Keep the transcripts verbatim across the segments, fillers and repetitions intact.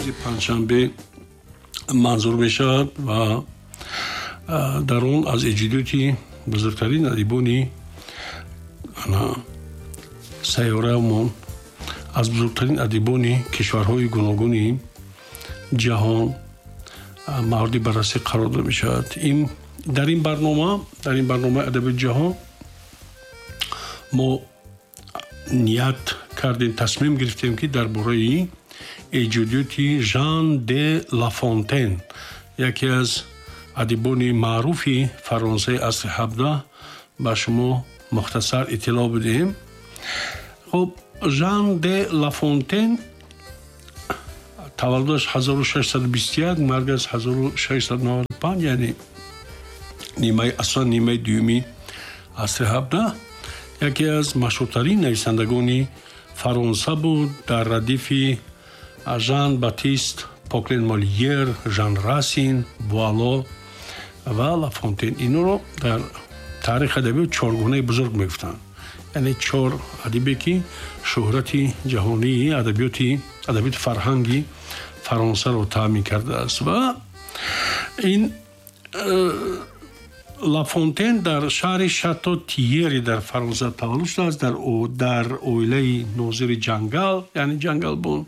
Рӯзи панҷшанбе манзур мешавад ва дар он аз эҷодиёти бузургтарин адибони сайёраамон, аз бузургтарин адибони кишварҳои гуногуни ҷаҳон мавриди баррасӣ қарор дода мешавад. Дар ин барнома, дар ин барномаи адабиёти ҷаҳон мо ният кардем, тасмим гирифтем, ки дар бораи эҷодиёти Жан де Лафонтен, яке аз адибони маъруфи Фаронсаи асри ҳабдаҳ, ба шумо мухтасар иттилоъ бидиҳем. Хуб, Жан де Лафонтен таваллудаш ҳазору шашсаду бисту як, маргаш ҳазору шашсаду наваду панҷ, яъне нимаи асосан нимаи дуюми асри ҳабдаҳ, яке аз машҳуртарин нависандагони Фаронса буд дар радифи Жан Батист Поклен Молиер, Жан Расин, Буало ва Лафонтен. Инро дар таърихи адабиёт чоргунаи бузург мегуфтанд, яъне чор адибе, ки шӯҳрати ҷаҳонии адабиёти адабиёти фарҳанги Фаронсаро таъмин кардааст. Ва ин э, Лафонтен дар шаҳри Шато Тиери дар Фаронса таваллуд шудааст, дар дар оилаи нозири ҷангал, яъне ҷангалбон.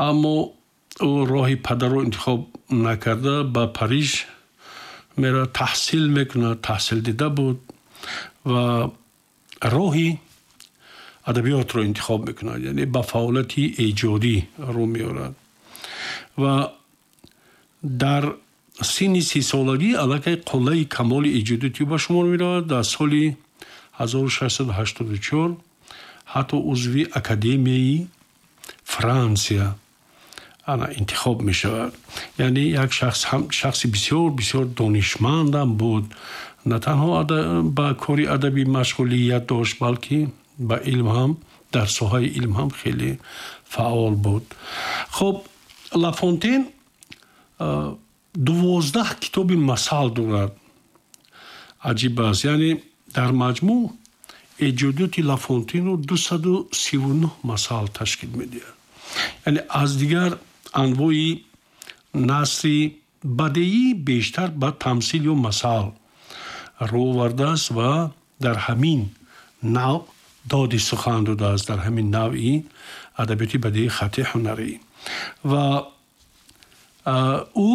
Аммо ӯ роҳи падарро интихоб накарда, ба Париж меравад, таҳсил мекунад, таҳсил дида буд ва роҳи адабиётро интихоб мекунад, яъне ба фаъолияти эҷодӣ рӯ меорад ва дар синни сисолагӣ аллакай қуллаи камоли эҷодиёти ба шумор меравад. Дар соли ҳазору шашсаду ҳаштоду чор ҳатто узви Академияи Франсия ана интихоб мешавад. Яъне як шахс, шахси бисёр бисёр донишмандам буд. На танҳо ба кори адабӣ машғулият дошт, балки ба илм ҳам, дар соҳаи илм ҳам хеле фаъол буд. Хуб, Лафонтен дувоздаҳ китоби масал дорад. Аҷиб аст, яъне дар маҷмӯъ эҷодиёти Лафонтенро дусаду сиву нӯҳ масал ташкил медиҳад. Яъне аз дигар анвои насри бадеӣ бештар ба тамсил ё масал рӯ овардааст ва дар ҳамин навъ доди сухан додааст, дар ҳамин навъи адабиёти бадеии хатти ҳунарӣ. Ва ӯ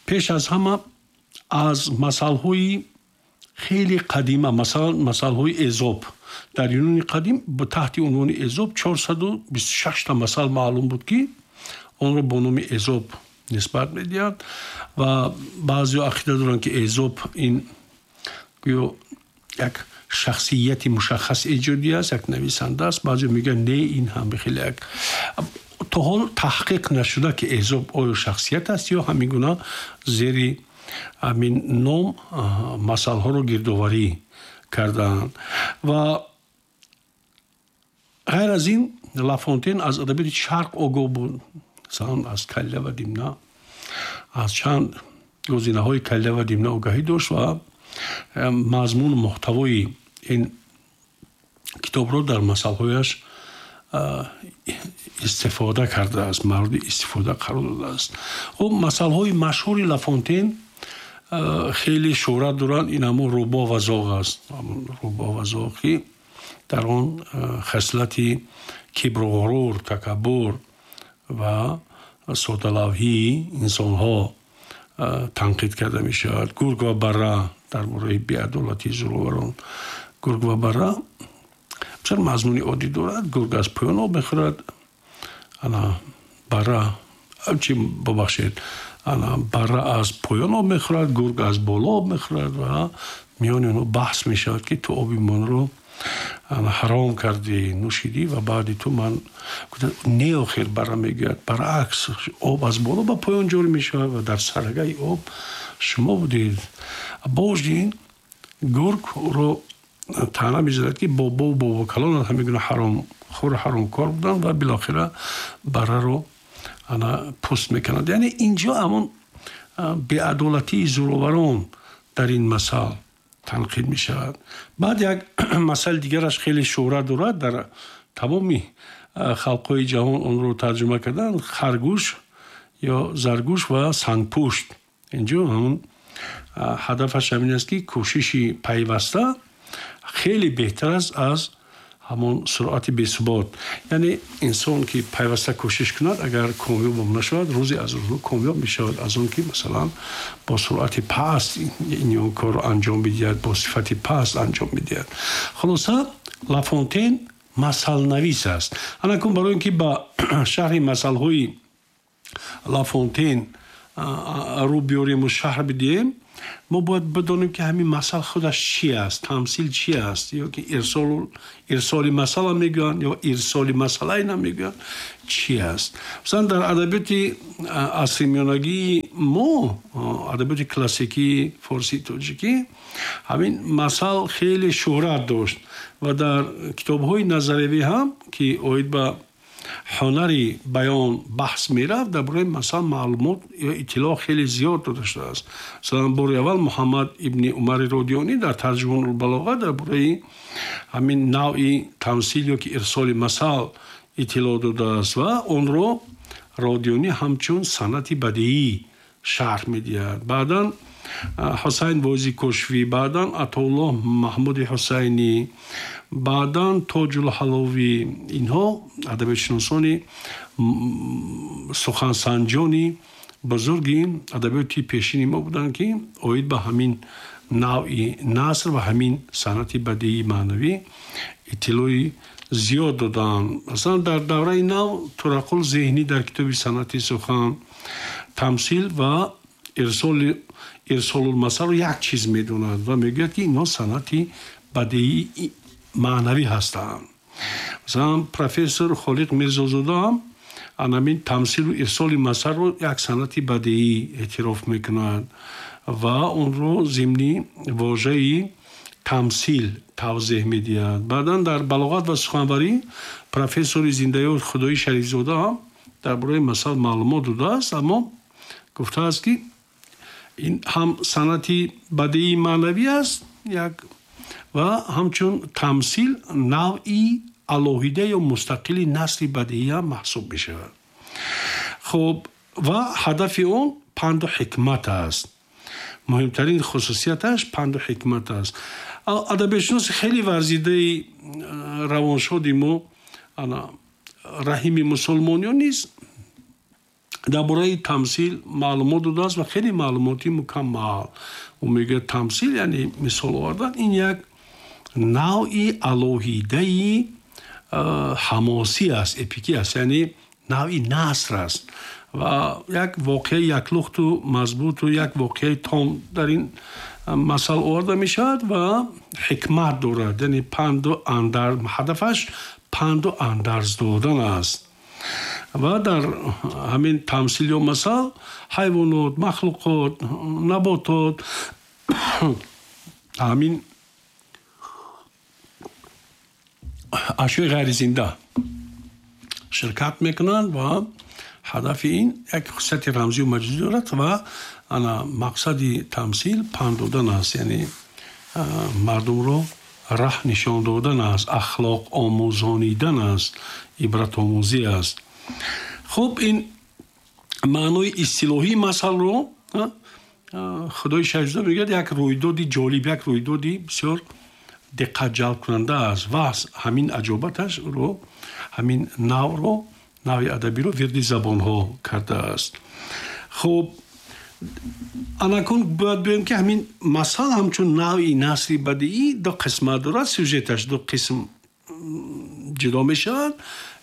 пеш аз ҳама аз масалҳои хеле қадима, масалан, масалҳои Эзоп. Дар Юнони қадим таҳти унвони Эзоп чорсаду бисту шашта масал маълум буд, ки онро бо номи Эзоп нисбат медиҳанд. Ва баъзеҳо ақида доранд, ки Эзоп ин гӯё як шахсияти мушаххас эҷодӣ аст, як нависанда аст. Баъзеҳо мегӯянд, не, ин ҳам хеле як то ҳол таҳқиқ нашуда, ки Эзоп оё шахсият аст ё ҳамин гуна зери ҳамин ном масалҳоро гирдоварӣ кардаанд. Ва ғайр аз ин Лафонтен аз адабиёти Шарқ огоҳ буд, масалан, аз Калила ва Димна, аз чанд гузинаҳои Калила ва Димна огаҳӣ дошт ва мазмуну муҳтавои ин китобро дар масалҳояш истифода кардааст, мавриди истифода қарор додааст. Хуб, масалҳои машҳури Лафонтен хеле шӯҳрат доранд. Ин ҳамон рӯбоҳ ва зоғ аст, рӯбоҳ ва зоғ, ки дар он хислати кибру ғурур, такаббур ва содалавҳии инсонҳо танқид карда мешавад. Гург ва барра, дар бораи беадолатии зӯроварон. Гург ва барра бисёр мазмуни оддӣ дорад. Гург аз поён об мехӯрад, ана барра чи, бубахшед, ана барра аз поён об мехӯрад, гург аз боло об мехӯрад ва миёни онҳо баҳс мешавад, ки ту оби монро ҳаром кардӣ, нӯшидӣ ва баъди ту ман. Не, охир, барра мегӯяд, баръакс, об аз боло ба поён ҷорӣ мешавад ва дар сарагаи об шумо будед. Бождин гург ӯро таъна мезанад, ки бобову бобокалонат ҳамин гуна ҳаромхӯру ҳаромкор буданд, ва билохира барраро ана пӯст мекунад. Яъне инҷо ҳамон беадолатии зӯроварон дар ин масал танқид мешавад. Баъд як масали дигараш хеле шӯҳрат дорад дар тамоми халқҳои ҷаҳон онро тарҷума карданд, харгӯш ё заргӯш ва сангпушт. Инҷо ҳамон ҳадафаш ҳамин аст, ки кӯшиши пайваста хеле беҳтар аст аз ҳамон суръати бесубот. Яъне инсон ки пайваста кӯшиш кунад, агар комёб нашавад, рӯзе аз рӯзҳо комёб мешавад аз он ки масалан бо суръати паст ин корро анҷом бидиҳад, бо сифати паст анҷом бидиҳад. Хулоса, Лафонтен масалнавис аст. Анакун барои ин ки ба шарҳи масалҳои Лафонтен рӯ биёрему шарҳ бидиҳем, мо бояд бидонем, ки ҳамин масал худаш чи аст, тамсил чи аст, ё ки ирсоли масала мегӯянд ё ирсоли масалайна мегӯянд, чи аст. Масалан, дар адабиёти асри миёнагии мо, адабиёти классикии форсии тоҷикӣ, ҳамин масал хеле шӯҳрат дошт ва дар китобҳои назариявӣ ҳам, ки оид ба ҳунари баён баҳс мерафт, дар бораи масал маълумот ё иттилоъ хеле зиёд дода шудааст. Масалан, бори аввал Муҳаммад ибни Умари Родионӣ дар Тарҷумонулбалоға дар бораи ҳамин навъи тамсил ё ки ирсоли масал иттилоъ додааст ва онро Родионӣ ҳамчун санъати бадиӣ шарҳ медиҳад. Баъдан Ҳусайн Воизи Кошфӣ, баъдан Атоуллоҳ Маҳмуди Ҳусайнӣ, баъдан Тоҷулҳаловӣ, инҳо адабиётшиносони сухансанҷони бузурги адабиёти пешини мо буданд, ки оид ба ҳамин навъи наср ва ҳамин санъати бадиии маънавӣ иттилои зиёд доданд. Масалан, дар давраи нав Турақул Зеҳнӣ дар китоби «Санъати сухан» тамсил ва ирсолулмасалро як чиз медонад ва мегӯяд, ки инҳо санъати бадиии маънавӣ ҳастанд. Масалан, профессор Холиқ Мирзозода ҳам анамин тамсилу ирсоли масалро як санъати бадиӣ эътироф мекунад ва онро зимни вожаи тамсил тавзеҳ медиҳад. Баъдан дар «Балоғат ва суханварӣ» профессори зиндаёд Худои Шарифзода ҳам дар бораи масал маълумот додааст, аммо гуфтааст, ки ин ҳам санъати бадиии маънавӣ аст як ва ҳамчун тамсил навъи алоҳида ё мустақили насри бадиӣ ҳам маҳсуб мешавад. Хуб, ва ҳадафи он панду ҳикмат аст. Муҳимтарин хусусияташ панду ҳикмат аст. Адабиётшиноси хеле варзидаи равоншоди мо Раҳими Мусулмониён низ дар бораи тамсил маълумот додааст ва хеле маълумоти мукаммал. Ӯ мегӯяд, тамсил, яъне мисол овардан, ин як навъи алоҳидаи ҳамосӣ аст, эпикӣ аст, яъне навъи наср аст ва як воқеаи яклухту мазбуту як воқеаи том дар ин масал оварда мешавад ва ҳикмат дорад, яъне панду андар, ҳадафаш панду андарз додан аст. Ва дар ҳамин тамсил ё масал ҳайвонот, махлуқот, наботот, ҳамин ашёи ғайризинда ширкат мекунанд ва ҳадафи ин як хусусияти рамзию маҷозӣ дорад ва ана мақсади тамсил панд додан аст, яъне мардумро раҳ нишон додан аст, ахлоқ омӯзонидан аст, ибратомӯзӣ аст. Хуб, ин маънои истилоҳии масалро Худои Шарифзода мегӯяд як рӯйдоди ҷолиб, як рӯйдоди бисёр диққатҷалбкунанда аст ва ҳамин аҷобаташ ӯро, ҳамин навъро, навъи адабиро вирди забонҳо кардааст. Хуб, анакун бояд бигӯем, ки ҳамин масал ҳамчун навъи насри бадиӣ ду қисмат дорад, сюжеташ ду қисм ҷудо мешавад,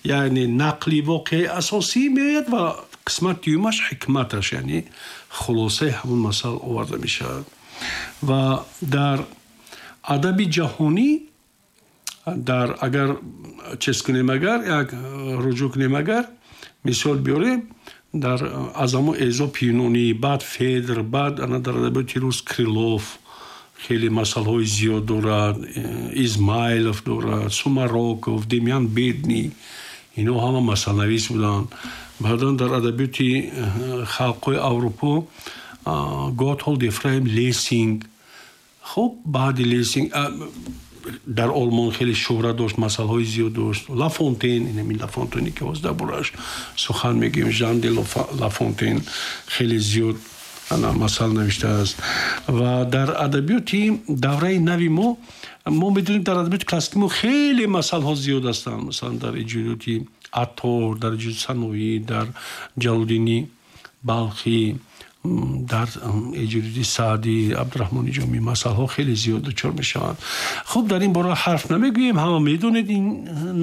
яъне нақли воқеаи асосӣ меояд ва қисмати дуюмаш ҳикматаш, яъне хулосаи ҳамон масал оварда мешавад. Ва дар адаби ҷаҳонӣ, дар агар чиз кунем, агар як руҷӯъ кунем, агар мисол биёрем, дар аз ҳамон Эзоп Юнонӣ, баъд Федр, баъд ана дар адабиёти рус Крилов хеле масалҳои зиёд дорад, Измайлов дорад, Сумароков, Демьян Бедный, инҳо ҳама масалнавис буданд. Баъдан дар адабиёти халқҳои Аврупо Готҳолд Ефраим Лессинг. Хуб, баъди Лессинг Дар Олмон хеле шӯҳрат дошт, масъалаҳои зиёд дошт. Лафонтен, ин Лафонтене ки ҳозир дар борааш сухан мегӯем, Жан де Лафонтен хеле зиёд масъала навиштааст. Ва дар адабиёти давраи нави мо, мо медонем, дар адабиёти классики мо хеле масъалаҳо зиёд ҳастанд. Масалан, дар эҷодиёти Аттор, дар эҷодиёти Саноӣ, дар Ҷалолиддини Балхӣ, дар эҷодиёти Саъдӣ, Абдураҳмони Ҷомӣ масъалаҳо хеле зиёд дучор мешаванд. Хуб, дар ин бора ҳарф намегӯем, ҳама медонед ин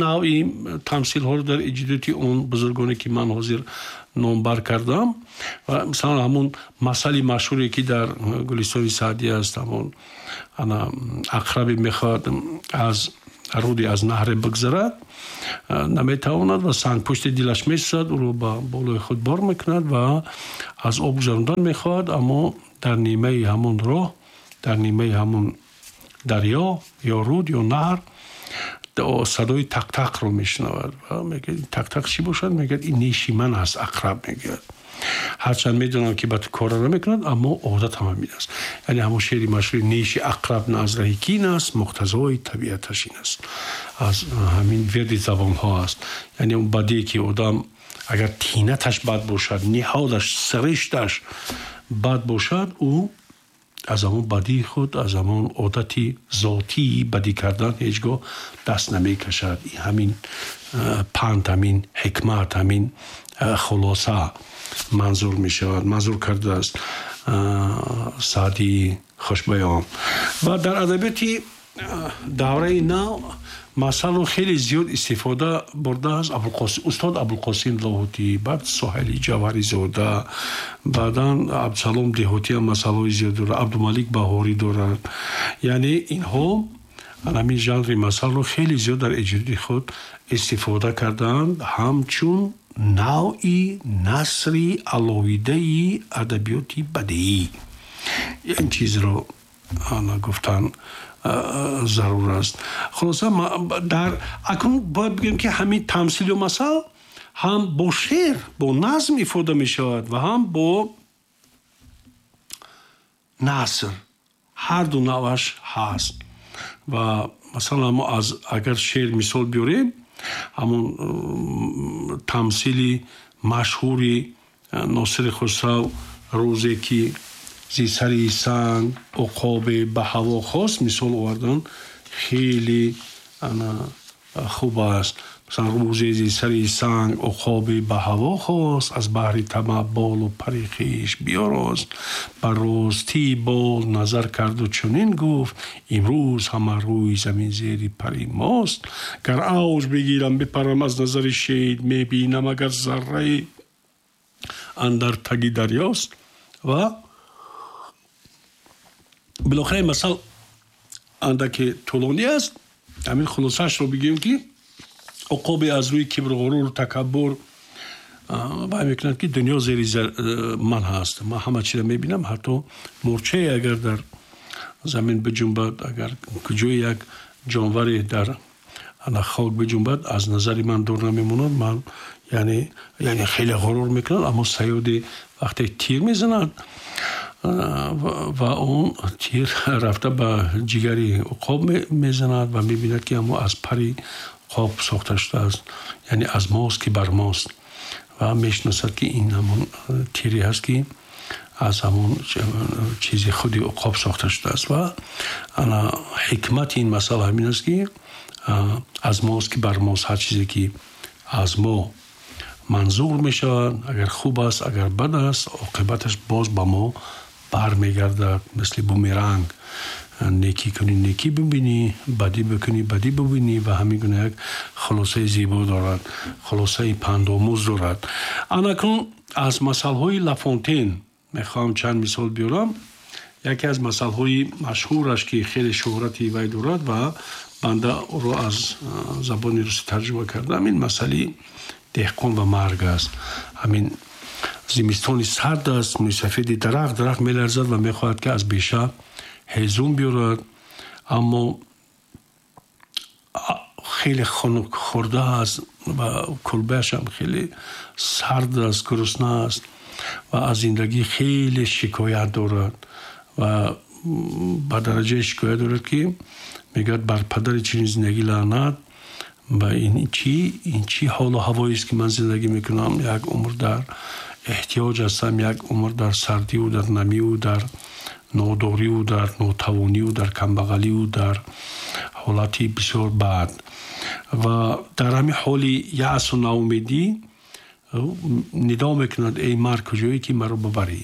навъи тамсилҳоро дар эҷодиёти он бузургоне ки ман ҳозир номбар кардам. Ва масалан, ҳамун масъали машҳуре ки дар Гулистони Саъдӣ аст, ҳамон ана ақрабе мехоҳад аз руди, аз наҳре бигзарад, наметавонад ва сангпушти дилаш месӯзад, ӯро ба болои худ бор мекунад ва аз об гузарондан мехоҳад, аммо дар нимаи ҳамон роҳ, дар нимаи ҳамон дарё ё руд ё наҳр садои тақтақро мешунавад ва мегӯяд: «Тақтақ чӣ бошад?» Мегӯяд: «Ин неши ман аст». Ақраб мегӯяд: «Ҳарчанд медонам, ки ба ту кора намекунад, аммо одатам ҳамин аст». Яъне ҳамон шеъри машҳури «Неши ақраб на аз раҳи кин аст, муқтазои табиаташ ин аст», аз ҳамин вирди забонҳо аст. Яъне он бадие ки одам агар тинаташ бад бошад, ниҳодаш, сиришташ бад бошад, ӯ аз ҳамон бадии худ, аз ҳамон одати зотии бадӣ кардан ҳеҷ гоҳ даст намекашад. Ҳамин панд, ҳамин ҳикмат, ҳамин хулоса манзур мешавад, манзур кардааст Саъдии хушбаён. Ва дар адабиёти давраи нав масъаларо хеле зиёд истифода бурдааст устод Абулқосим Лоҳутӣ, баъд Соҳили Ҷавҳаризода, баъдан Абдусалом Деҳотӣ ҳам масъалаҳои зиёд дорад, Абдумалик Баҳорӣ дорад. Яъне инҳо ҳамин жанри масъаларо хеле зиёд дар эҷодиёти худ истифода кардаанд ҳамчун навъи насри алоҳидаи адабиёти бадеӣ. Ин чизро гуфтан зарур аст. Хулоса, дар акнун бояд бигӯем, ки ҳамин тамсилу масал ҳам бо шеър, бо назм ифода мешавад ва ҳам бо наср, ҳар ду навъаш ҳаст. Ва масалан, мо аз агар шеър мисол биёрем, ҳамон тамсили машҳури Носири Хусрав: «Рӯзе ки зи сари санг уқобе ба ҳаво хост», мисол овардан хеле хуб аст. Масалан, «Рӯзе зи сари санг уқобе ба ҳаво хост, аз баҳри тамаъ болу пари хеш биёрост. Ба ростии бол назар карду чунин гуфт: имрӯз ҳама рӯи замин зери пари мост. Гар авҷ бигирам, бипарам, аз назари шед мебинам, агар заррае андар таги дарёст». Ва билохира ин масал андаке тӯлонӣ аст, ҳамин хулосаашро бигӯем, ки уқобе аз рӯи кибру ғурур, такаббур вай мекунад, ки дунё зери ман ҳаст, ман ҳама чизро мебинам, ҳатто мӯрчае агар дар замин биҷунбад, агар куҷое як ҷонваре дар ана хок биҷунбад, аз назари ман дур намемонад. Ман яъне яъне хеле ғурур мекунад. Аммо саёде вақте тир мезанад ва он тир рафта ба ҷигари уқоб мезанад ва мебинад, ки ҳамо аз пари уқоб сохта шудааст, яъне аз мост ки бар мост, ва мешиносад, ки ин ҳамон тире ҳаст, ки аз ҳамон чизи худи уқоб сохта шудааст. Ва ана ҳикмати ин масъала ҳамин аст, ки аз мост ки бар мост, ҳар чизе ки аз мо манзур мешавад, агар хуб аст, агар бад аст, оқибаташ боз ба мо бармегардад, мисли бумеранг: некӣ кунӣ, некӣ бибинӣ, бадӣ бикунӣ, бадӣ бибинӣ. Ва ҳамин гуна як хулосаи зебо дорад, хулосаи пандомӯз дорад. Анакнун аз масалҳои Лафонтен мехоҳам чанд мисол биёрам. Яке аз масалҳои машҳураш, ки хеле шӯҳрати вай дорад ва банда ӯро аз забони русӣ тарҷума кардам, ин масъали деҳқон ва марг аст. Ҳамин зимистони сард аст, мӯйсафеди дарахт дарахт меларзад ва мехоҳад, ки аз беша ҳезум биёрад, аммо хеле хунук хӯрда аст ва кулбаашам хеле сард аст, гурусна аст ва аз зиндагӣ хеле шикоят дорад ва ба дараҷаи шикоят дорад, ки Мегӯяд, бар падари чунин зиндагӣ лаънат, ва ин чӣ ин чӣ ҳолу ҳавоест, ки ман зиндагӣ мекунам, як умр дар эҳтиёҷ ҳастам, як умр дар сардиву дар намиву дар нодориву дар нотавониву дар камбағаливу дар ҳолати бисёр бад. Ва дар ҳамин ҳоли яъсу ноумедӣ нидо мекунад: эй марг, куҷое, ки маро бибарӣ?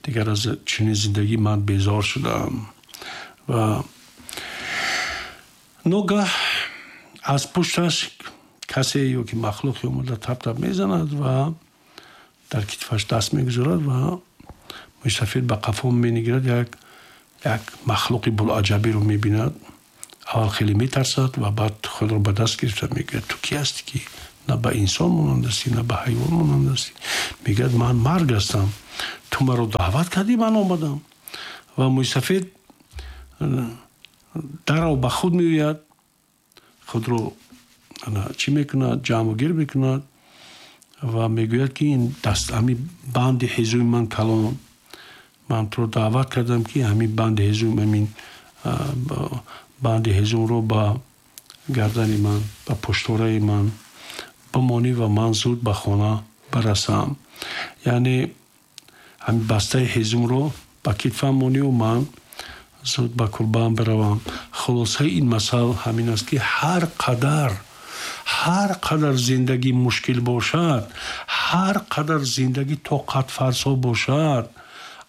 Дигар аз чунин зиндагӣ ман безор шудаам. Ва ногаҳ аз пушташ касе ё ки махлуқе омада, тап-тап мезанад ва дар китфаш даст мегузорад ва мӯйсафед ба қафо менигарад, як як махлуқи булаҷабиро мебинад. Аввал хеле метарсад ва баъд худро ба даст гирифта мегӯяд: ту ки ҳастӣ, ки на ба инсон монанд ҳастӣ, на ба ҳайвон монанд ҳастӣ? Мегӯяд: ман марг ҳастам, ту маро даъват кардӣ, ман омадам. Ва мӯйсафед дарав ба худ меояд, худро чӣ мекунад, ҷамъу гир мекунад ва мегӯяд, ки ин даст, ҳамин банди ҳезуми ман калон, ман туро даъват кардам, ки ҳамин банди ҳезум, ҳамин банди ҳезумро ба гардани ман, ба пуштораи ман бимонӣ ва ман зуд ба хона барасам. Яъне ҳамин бастаи ҳезумро ба китфам мониву ман зуд ба кулбаам биравам. Хулосаи ин масъал ҳамин аст, ки ҳар қадар ҳар қадар зиндагӣ мушкил бошад, ҳар қадар зиндагӣ тоқатфарсо бошад,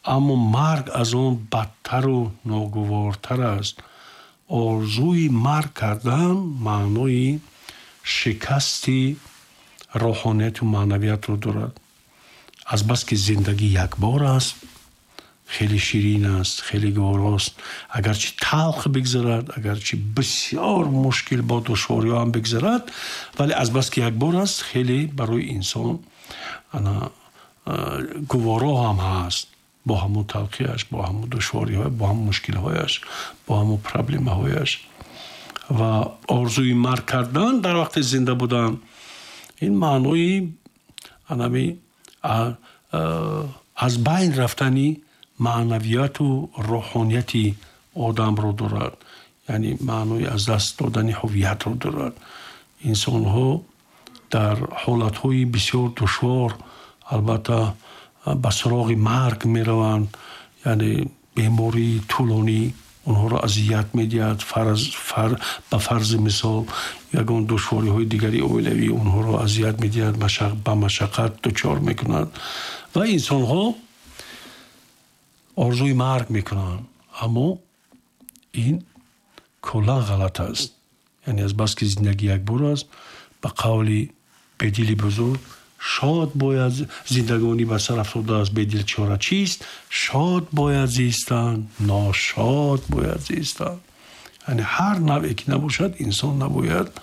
аммо марг аз он бадтару ногувортар аст. Орзуи марг кардан маънои шикасти рӯҳонияту маънавиятро дорад. Азбаски зиндагӣ якбор аст, хеле ширин аст, хеле гуворост, агарчи талх бигзарад, агарчи бисёр мушкил бо душвориҳо ҳам бигзарад, вале азбаски якбор аст, хеле барои инсон ана гуворо ҳам ҳаст, бо ҳамун талхиаш, бо ҳамун душвориҳо, бо ҳамун мушкилҳояш, бо ҳамун проблемаҳояш. Ва орзуи марг кардан дар вақти зинда будан ин маънои анами аз байн рафтани маънавияту рӯҳонияти одамро дорад, яъне маънои аз даст додани ҳувиятро дорад. Инсонҳо дар ҳолатҳои бисёр душвор албатта ба суроғи марг мераванд, яъне бемории тӯлонӣ онҳоро азият медиҳад, ба фарзи мисол, ягон душвориҳои дигари оилавӣ онҳоро азият медиҳад, ба машаққат дучор мекунад ва инсонҳо орзуи марг мекунанд. Аммо ин куллан ғалат аст, яъне азбаски зиндагӣ якбор аст, ба қавли Бедили бузург, шод бояд зиндагонӣ ба сар афтодааст, бедил чора чист? Шод бояд зистан, ношод бояд зистан. Яъне ҳар навъе ки набошад, инсон набояд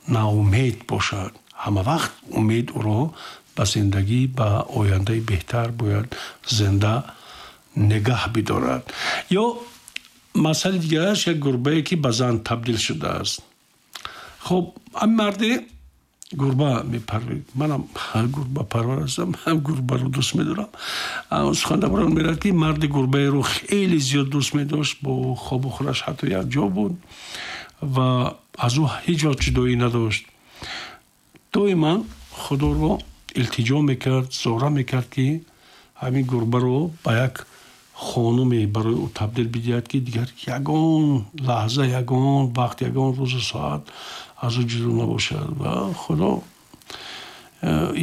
ноумед бошад. Ҳама вақт умед ӯро ба зиндагӣ, ба ояндаи беҳтар бояд зинда нигаҳ бидорад. Ё масъалаи дигараш, як гурбае, ки ба зан табдил шудааст. Хуб, ҳамин марде гурба мепарварид. Манам гурбапарвар ҳастам, гурбаро дӯст медорам. Сухан дар бораи он меравад, ки марди гурбаеро хеле зиёд дӯст медошт, бо хобу хӯраш ҳатто якҷо буд ва аз ӯ ҳеҷ вақт ҷудоӣ надошт. Доиман Худоро илтиҷо мекард, зора мекард, ки ҳамин гурбаро ба як хонуме барои ӯ табдил бидиҳад, ки дигар ягон лаҳза, ягон вақт, ягон рӯзу соат аз ӯ ҷудо набошад. Ва Худо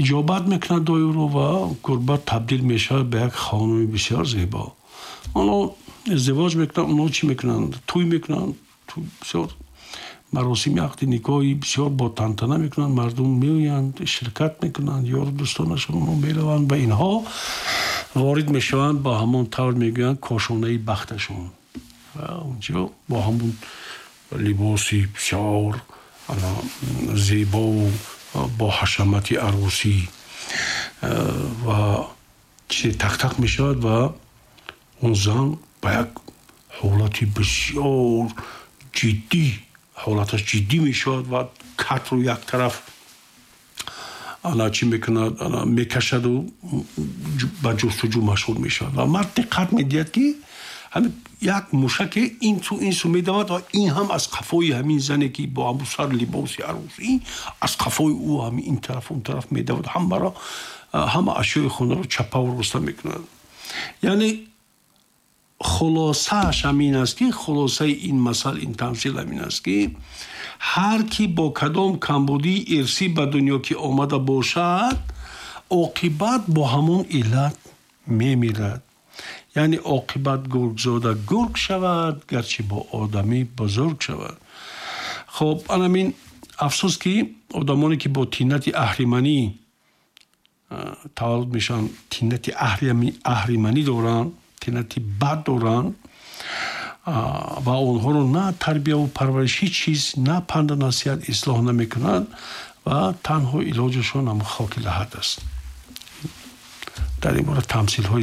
иҷобат мекунад дуои ӯро ва гурба табдил мешавад ба як хонуми бисёр зебо. Онҳо издивоҷ мекунанд, онҳо чӣ мекунанд? Тӯй мекунанд, бисёр маросими ақди никоҳи бисёр бо тантана мекунанд, мардум меоянд, ширкат мекунанд, ёру дӯстонашон онҳо мераванд ва инҳо ворид мешаванд ба ҳамон тавр мегӯянд кошонаи бахташон. Ва онҷо бо ҳамон либоси бисёр зебову бо ҳашамати арӯсӣ ва чизе тақтақ мешавад ва он зан ба як ҳолати бисёр ҷиддӣ, ҳолаташ ҷиддӣ мешавад ва катро як тараф ана чӣ мекунад, ана мекашаду ба ҷустуҷӯ машғул мешавад. Ва мард диққат медиҳад, ки Ҳамин як мушаке ин су, ин су медавад ва ин ҳам аз қафои ҳамин зане, ки бо ҳамун сар либоси арӯсӣ, аз қафои ӯ ҳамин ин тараф, он тараф медавад, ҳамаро, ҳама ашёи хонаро чапаву роста мекунад. Яъне хулосааш ҳамин аст, ки хулосаи ин масал, ин тамсил ҳамин аст, ки ҳар ки бо кадом камбудии ирсӣ ба дунё ки омада бошад, оқибат бо ҳамон иллат мемирад. Яъне оқибат гургзода гург шавад, гарчи бо одамӣ бузург шавад. Хоб, анамин афсӯс, ки одамоне, ки бо тинати аҳриманӣ таваллуд мешаванд, тинати аҳриманӣ доранд, тинати бад доранд ва онҳоро на тарбияву парвариш, ҳеҷ чиз, на панду насиҳат ислоҳ намекунад ва танҳо илоҷашон ҳам хоки лаҳад аст. Дар ин бора тамсилҳои